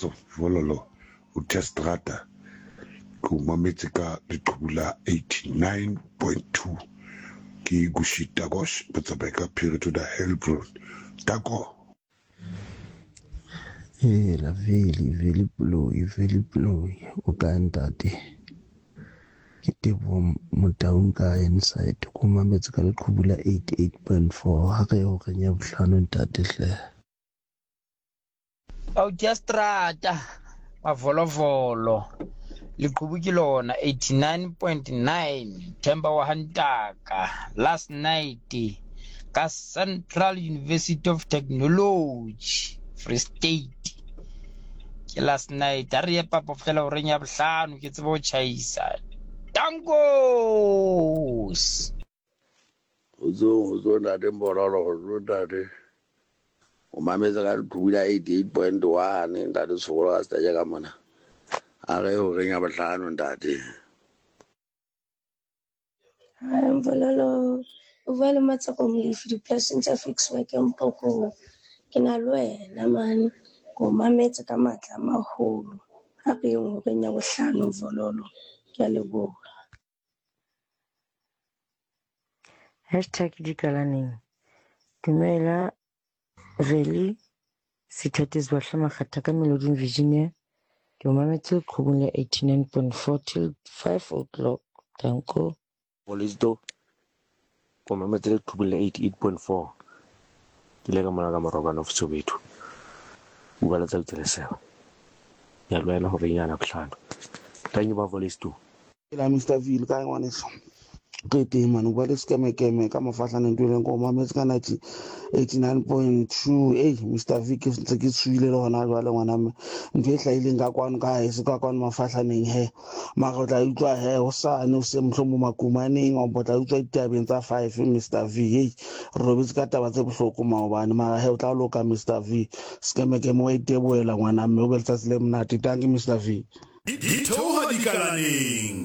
Kgotso Vololo o Testrata ke o mametse ka leqhubu la 89.2 ke Gushi Tagosh botsamai ka Phiri to the Hellbron Tako. Hela Veli, Veli Poloi, Veli Poloi, o kae ntate? Ke Teboho Motaung ka Inside, ko mametse ka leqhubu la 88.4 ha re ye horeng ya bohlano ntate hle. Audiastrata, Mavolovolo, leqhubu ke lona 89.9 Themba wa Hantaka last night ka Central University of Technology Free State ke last night a re ye papo fela horeng ya bohlano ke tsebe ho tjhaisa tankos. Kgotsong, kgotsong ntate Mbororo, kgotsong ntate. O mametse ka leqhubu la 88.1 ntate Tshokolo ka setaje ka mona. A re horeng ya bohlano ntate. Hi, Mbololo. O bua le Matseko Molefi dipolasing tsa Ficksburg Mpokong. Ke na le wena mane. Ke o mametse ka matla a maholo. Ha re yeng horeng ya bohlano Mvololo. Ke a leboha. Hashtag dikalaneng. Dumela Veli Sithathe Zibahle Makgatha ka Meloding Virginia. Ke o mametse leqhubung la 89.4 till 5 o'clock. Danko. Polisto, ko mametse leqhubung la 88.4. Ke ile ka mona ka Morokane of Soweto. Bua letsatsi le seba. Ya lwela hore nyana bohlano. Thank you ba Polisto. Hela Mister V le kae ngwaneso? Ke teng mane o bua le sekemekeme ka mofahlaneng tueleng ko mametse ka ninety eighty nine point two ei Mister V ke ntse ke tshohile le hona jwale ngwana mme ntho e hlahileng ka kwano ka heso ka kwano mafahlaneng he mara o tla utlwa he hosane o se mohlomong makumaneng o tla utlwa ditabeng tsa five Mister V ei re robetse ka taba tse bohloko maobane mara he o tla loka Mister V sekemekeme wa itebohela ngwana mme o be letsatsi le monate tanki Mister V Di theoga dikalaneng.